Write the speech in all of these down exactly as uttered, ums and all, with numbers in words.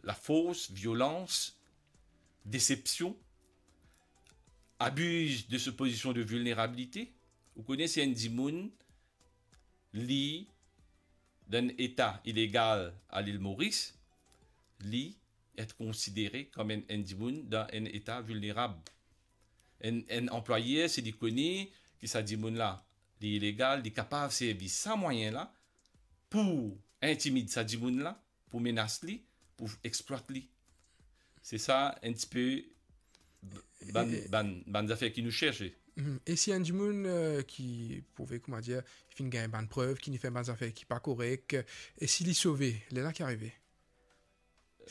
lafors, violans, desepsion, abiz de so pozision de vilnerabilite. Ou kone si enn dimoun, li dan enn eta ilegal a Lil Moris, li et konsidere kom enn, enn dimoun dan enn eta vilnerab. Enn, enn anplwayer, si li kone ki sa dimoun la, li ilegal, li kapav servi sa mwayin la pou intimid sa dimoun la, pou menas li, pou explwat li. Se sa enn tipe b-, bann, e, e, bann, bann zafer ki nou cherse. Mhm. E si enn dimoun, euh, ki prouve, kouma dir, ki finn gagn bann prev, ki finn fer bann zafer ki pa korek, e si li sove, lerla ki arive?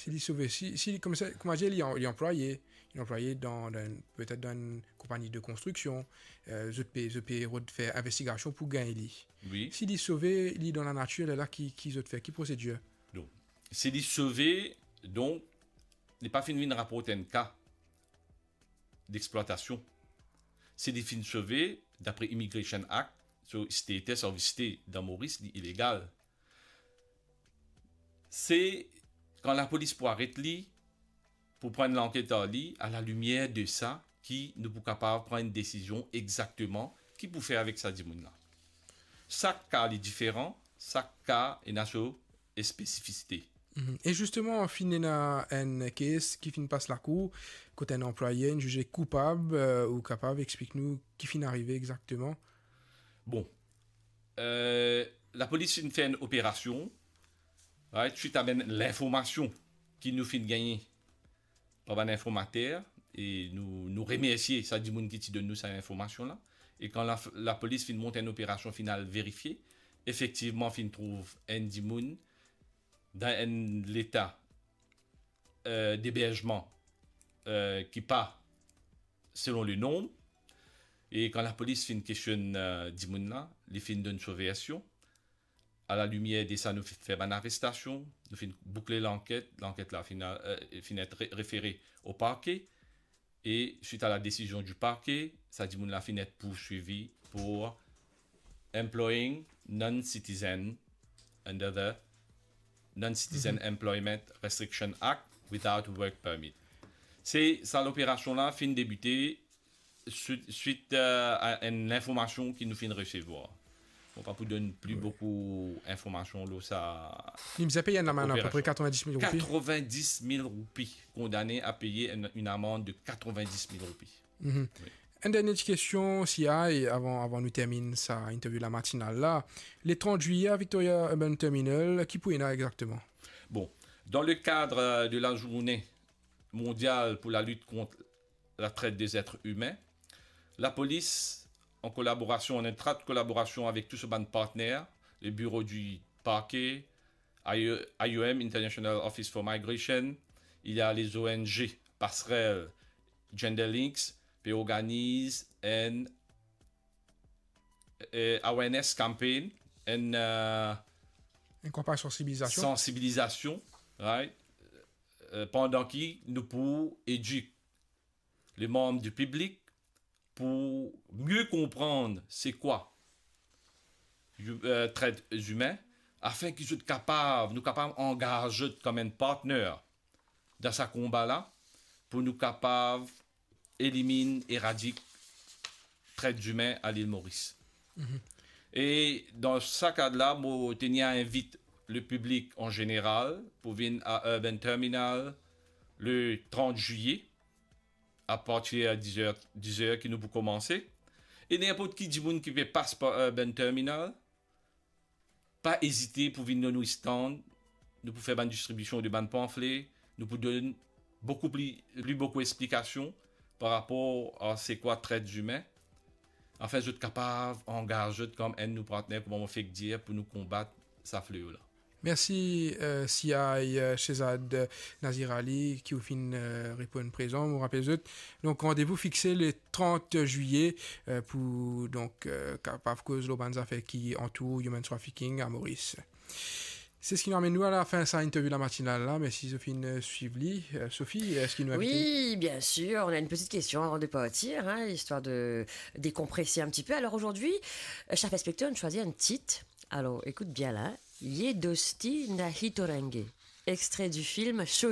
Si li sove, si, si li, kouma sa, kouma dir, li an-, li anplwaye, li anplwaye dan, dan enn, petet dan enn konpagni de konstriksion, euh, zot pe, zot pe rod fer investigasion pou gagn li. Wi. Si li sove, li dan lanatir, lerla ki, ki zot fer, ki prosedir? Donk, si li sove, donk, li pa finn vinn raport enn ka d'exploitasion. Si li finn sove, dapre Immigration Act, so status of stay dan Moris, li ilegal. Se kan lapolis pou aret li, pou pran lanket ar li, a la limier de sa, ki nou pou kapav pran enn desizion exakteman ki pou fer avek sa dimoun la. Sak ka li diferan, sak ka ena so spesifisite. Mhm. E zisteman, finn ena enn case ki finn pas lakour, kot enn anplwaye inn zize koupab, euh, ou kapav explik nou ki finn arive exakteman? Bon, euh, lapolis finn fer enn operasion, right, swit a bann linformasion ki nou finn gagne par bann informater, e nou, nou remersie sa dimoun ki ti donn nou sa linformasion la. E kan la, lapolis finn mont enn operasion, finn al verifie, efektivman finn trouv enn dimoun dan enn leta, euh, d'eberzman, euh, ki pa selon le norm. E kan lapolis finn kestionn, euh, dimoun la, li finn donn so version. A la limier de sa, nou fi-, fer bann arestasion, nou finn boukle lanket, lanket la finn, euh, finn et re-, refere o parke, e swit a la desizion di parke, sa dimoun la finn et pourswivi pou employing non-citizen under the Non-Citizen Mhm. Employment Restriction Act without work permit. Se sa, loperasion la finn debite swit, swit, euh, a enn linformasion ki nou finn resevwar. Bon, pa pou donn pli Wi. boukou informasion lor sa Li bizin pey enn lamann apepre operasyon. Katrovendis mil roupi. Katrovendis mil roupi. Kondane a peye enn, enn amann de katrovendis mil roupi. Mhm. Wi. Enn dernie ti kestion, Siya, e avan, avan nou terminn sa interview la matinal la. Le trant zwiye, a Victoria Urban Terminal, ki pou ena exakteman? Bon, dans le cadre de la journée mondiale pour la lutte contre la traite des êtres humains, lapolis, an kolaborasion, an etrwat kolaborasion avek tou so bann partner, le bureau du parquet, I O M, International Office for Migration, il y a les O N G, Passerelle, Gender Links, pe organiz enn, eh, awareness campaign, enn, eh, Enn kanpagn sansibilizasion. sansibilizasion, right? Eh, pandan ki nou pou edik le manm di piblik pou mie konprann se kwa, eh, tret zimin, afin ki zot kapav, nou kapav angaz zot kom enn partner dan sa konba la, pou nou kapav eliminn, eradik tret zimin a Lil Moris. Mhm. E dan sa kad la, mo teni a invit le piblik an zeneral pou vinn a Urban Terminal le trant zwiye, apartir dizer, dizer ki nou pou koumanse. E ninport ki dimoun ki pe pas par Urban Terminal, pa ezite pou vinn lor nou stand, nou pou fer bann distribision de bann panfle, nou pou donn boukou pli, pli boukou explikasion par rapor a se kwa tret zimin, afin zot kapav angaz zot kom enn nou partner, kouma mo fek dir, pou nou konbat sa fleo la. Mersi, eh, Siya, eh, Shehzad, eh, Nazir Ali, ki ou finn, eh, reponn prezan. Mo rapel zot, donk, randevou fixe le trant zwiye, eh, pou, donk, eh, kapav koz lor bann zafer ki antour human trafficking a Moris. Se seki nou amenn nou a lafin sa interview la matinal la. Mersi zot finn, eh, swiv li. Eh, Sophie, eski nou invite? Oui, bien sûr. On a une petite question avant de partir, hein, histoire de décompresser un petit peu. Alors aujourd'hui, euh, chef inspecteur, on choisit un titre. Alors, écoute bien là, hein. Ye dosti nahi torenge, extrait du film